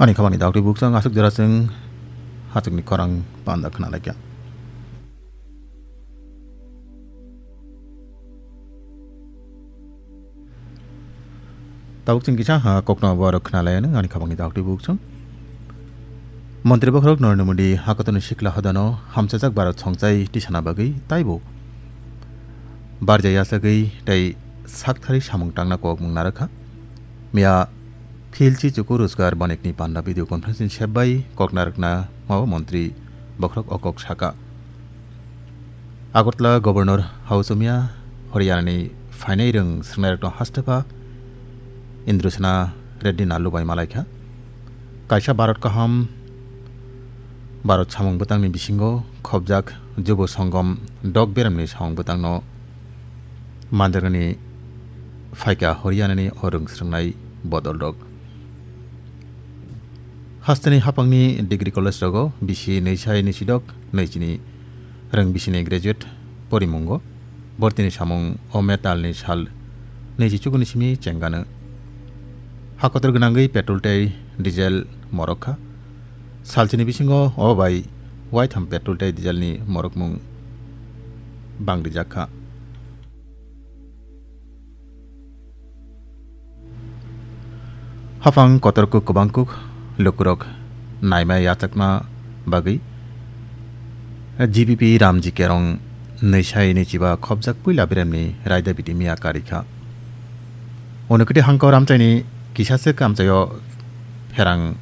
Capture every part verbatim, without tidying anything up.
Ani khamani daktwi buksong aswk jora chwng hachwkni khorang panda khna laikha. Tabuk chwng kisa ha kokno borok khna lai nang ani khamani daktwi buksong. Montri bokhorok Narendra Modi hakotorni sikla hodano hamsajak Bharat songchai tisana bagwi taibo barja yachagwi tei sakthari samung tangna kok mung narwkha. Miya Philchi Chuku Rojgar Bonikni panda video conference ni sep bai kok narwkna mao montri bokhorok o kok saka. Agartala Governor Hausomia Haryanani phainai rwng swrwngnairokno hastepha Indrasena Reddy Nallu bai malaikha. Kaisa Bharat kaham, Bharat samung bwtangni bisingo khopjak Jubo Songom dok beremni samung bwtangno manjaknani phaikha Haryanani o rwng swrwngnai bodolrok. Hasteni hapangni degree college rogo bisi nwisai nwisidok nwichini rwng bisini graduate porimungo bortini samung o metalni sal nwichi chukuni simi chengano. Hakotor gwnangwi petrol tei diesel morok kha. Salchini bisingo o bai waitham petrol tei dieselni morokmung bangrijak kha. Haphang kotor kuk kwbang kuk lukurok naima yachakna bagwi G B P Ramji Kerong nwisai nwichiba khopjak puila beremni raida biti miya karikha. Unukiti hangko ramchaini kisaswk amchaio pherang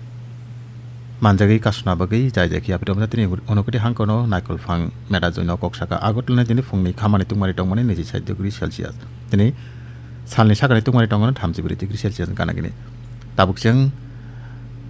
manjagwi kasuna bagwi jai jai khe yapri romjak tini unukiti hangkono naikol phang meda joino kok saka Agartala tini phungni khamani tungmani tongmani niji sai degree Celsius. Tini salni sakani tungmani tongmani thamchi bwrwi degree Celsius gana gini. Tabuk chwng